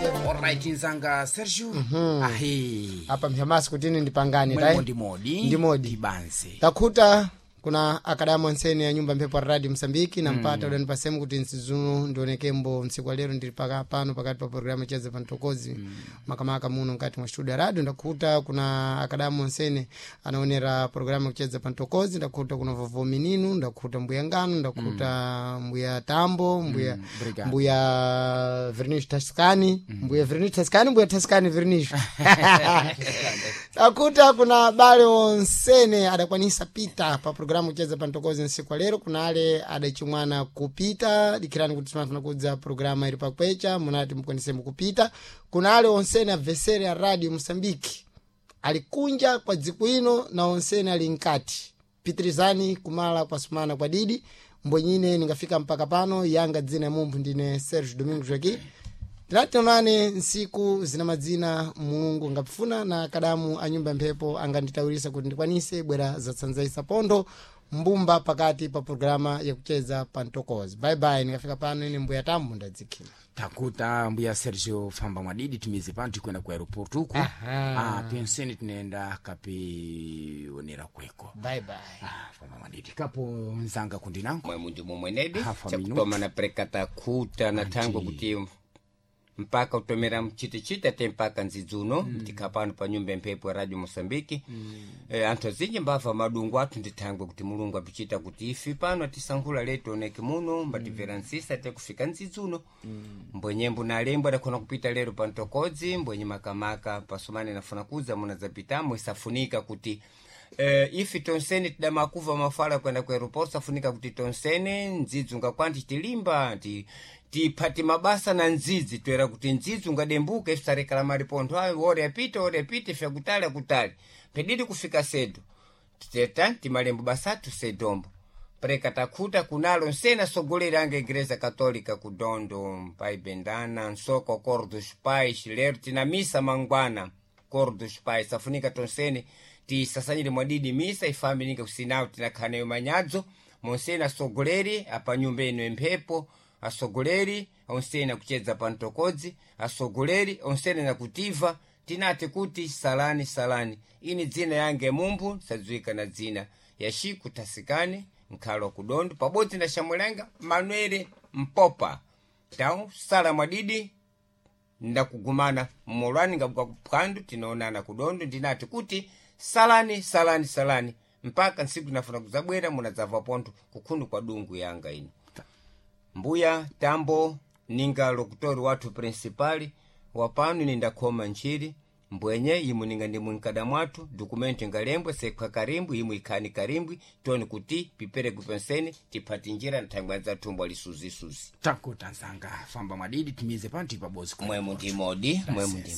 Alright, nzanga Sergio. Ahi. Apa mphyamasi kutini ndipangane Mwemo tayi ndimodi. Ndimodi. Ndibanze. Takhuta kuna akadamu ansene ya nyumba mphepo ya radio Msambiki na mpata udani pasemu kuti nsizuno ndionekembo msiku wa lero ndili paka pano pakati pa programu cheze pantokozi makamaka muno mkati mwa studio ya radio. Ndakhuta kuna akadamu ansene anaonera programu kucheza pantokozi. Ndakhuta kuna vovo mininu, ndakhuta mbuya ngano, ndakhuta mbuya tambo, mbuya Obrigado. mbuya Vernish Taskani, mbuya Vernish Taskani, mbuya Taskani Vernish. Takuta kuna bale onsene adakwanisa pita pa programu kucheza pantokozi nsiku wa lero. Kuna ale adachimwana kupita, dikirani kuti timafuna kudza programa ili pakwecha munati mukwanise mukupita. Kuna ale onsene abvesere a radio Mosambiki alikunja kwa dziku ino na onsene ali nkati, pitirizani kumala kwasumana kwa didi mbwenyine ningafika mpaka pano. Yanga dzina ya mumphu ndine Sergio Domingo Joaqui. Tinationane nsiku zina madzina Mulungu ngapfuna na kadamu a nyumba mphepo anganditawirisa kuti ndikwanise bwera zatsanzaisa pondo mbumba pakati pa programa yakucheza pantokozi. Bye bye, ningafika pano ine mbuya tambo ndadzikhila. Takuta mbuya Sergio, famba mwadidi tumize pano tikwenda ku aeroport uku. Aha. Ah, penseni tunaenda kapionera kweko. Bye bye. Ah, famba mwadidi kapo nzanga kundinango. Mwemu ndimo mwenedi Half a chakutoma na prekata khuta na thangwe kuti mpaka utomera mchitichita te mpaka nzidzuno mtikha pano pa nyumba ya mphepo ya radio Moçambique. Anthu azinji mbava madungu athu ndi thangwe kuti Mulungu apichita kuti ifi pano atisankhula letu oneke muno mbatibvera nsisa te kufika nzidzuno. Mbwenyembo na alembo adakhona kupita lero pa ntokodzi mbwenye makamaka pasumane nafuna kudza munadzapitamo isafunika kuti ifi tonsene tidamakuva mafala kwenda ku aeroport, safunika kuti tonsene ndzidzi ngakwanti tilimba tiphati mabasa na ndzidzi toera kuti ndzidzi ungadembuka ife tarekala maripontho ayo ore apite ore apite ife akutali akutali pedidi kufika sedo titeta timalembo basatu sedombo preka takhuta kunalo nsena asogolera anga igreja católica ku Dondo pai Bendana nsoko cor dos pais lero tina misa mangwana cor dos pais safunika tonsene tisasanyire mwadidi misa ifambi ninga kusinawo tinakhaneyo manyadzo monsene asogoleri apa nyumba ino emphepo asogoleri onsene akuchedza pa ntokodzi asogoleri onsene nakutiva tinati kuti salani salani. Ini dzina yange mumphu sadziwika na dzina ya Xiku Tasikani nkhalo kudondo pabodzi na xamwelanga Manuele Mpopa tau sala mwadidi ndakugumana mmolwani ngabuka kuphwandu tinaonana kudondo ndinati kuti salani salani salani mpaka ntsiku tinafuna kudzabwera munadzava pontho kukhundu kwa dungu yanga ino mbuya tambo ninga lokutori wathu principali wapano ine ndakhoma ntchiri mbwenye imwe ninga ndimwe mkada mwathu dokumento ingalembwe sekhwa karimbwi imwe ikhani karimbwi toni kuti pipere kupenseni tiphati njira nthangwe adzathumbo alisuzisuzi. Takuta nzanga famba mwadidi tumize pano tipabozi. Mwemu ndimodi mwemu.